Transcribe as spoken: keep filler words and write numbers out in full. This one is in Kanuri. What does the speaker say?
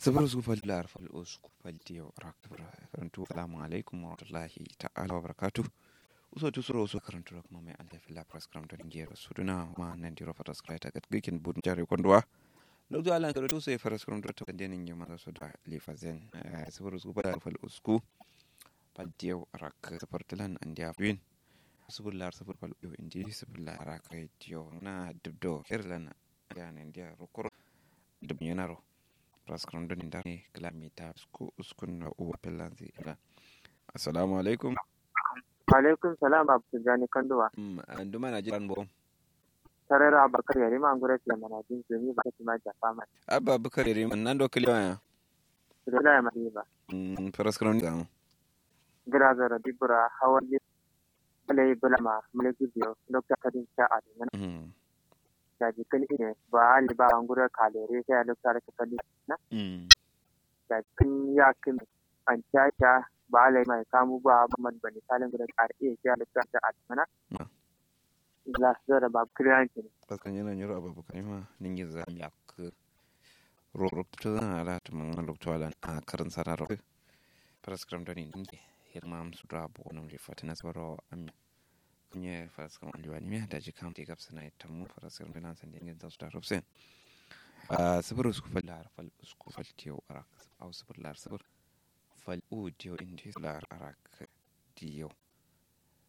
Sifir usku fal lar fal usku fal diyo arak sifir. Karantu assalamu alaikum warahmatullahi ta'ala wabarakatuh. Uso tu suro uso karantu ro kuma mai alta filla faraskaram doni ngero suduna ma nandiro faraskaram ita gatgakin budun jare konduwa. Loktu alan karantu sai faraskaram doni ta kande ninge masa soda lifazen. Sifir usku fal lar fal usku fal diyo arak sifir dilan andiya fuyin. Sifir lar sifir fal diyo indi sifir lar arak diyo na dubdo kirlan andiya nandiya rokoro. Dubnyena ro. Faraskaram doni ndar ne klamita usku uskun na uwa fillanzi ila. Assalamu alaikum. Alaikum salam abdu jani kanduwa. Nduma na jiran bo. Tarera abakar yarima ngure fiye mana jin zumi ba kaci ma jafa ma. Abba abakar yarima nan do kiliya ya. Dole ya mari ba. Faraskaram doni zamu. Gira zara dibura hawan alai bulama mulki biyo lokta kadin sha a dingana. Daji kǝn ine ba ali ba nguro kalere sai a lokta rake fali na. Daji kǝn ya kǝn an caca ba alai mai kamu ba ba man bani kalin nguro kare sai a lokta rake a dingana. La zora ba kiriyanci ne. Baskan yana nyiro ababu kalima ningin za mi akku. Rorokto zana ala tumangana lokto alan a karin sana rokto. Faraskaram doni ninge hirma amsu da bo nam rifatina soro amya. Kunye faraskaram aliwani miya daji kam te gabsana itamu faraskaram doni an sande ngen zasu da rofsen. Sifir usku fal lar fal usku fal diyo arak au sifir lar sifir fal u diyo indi lar arak diyo.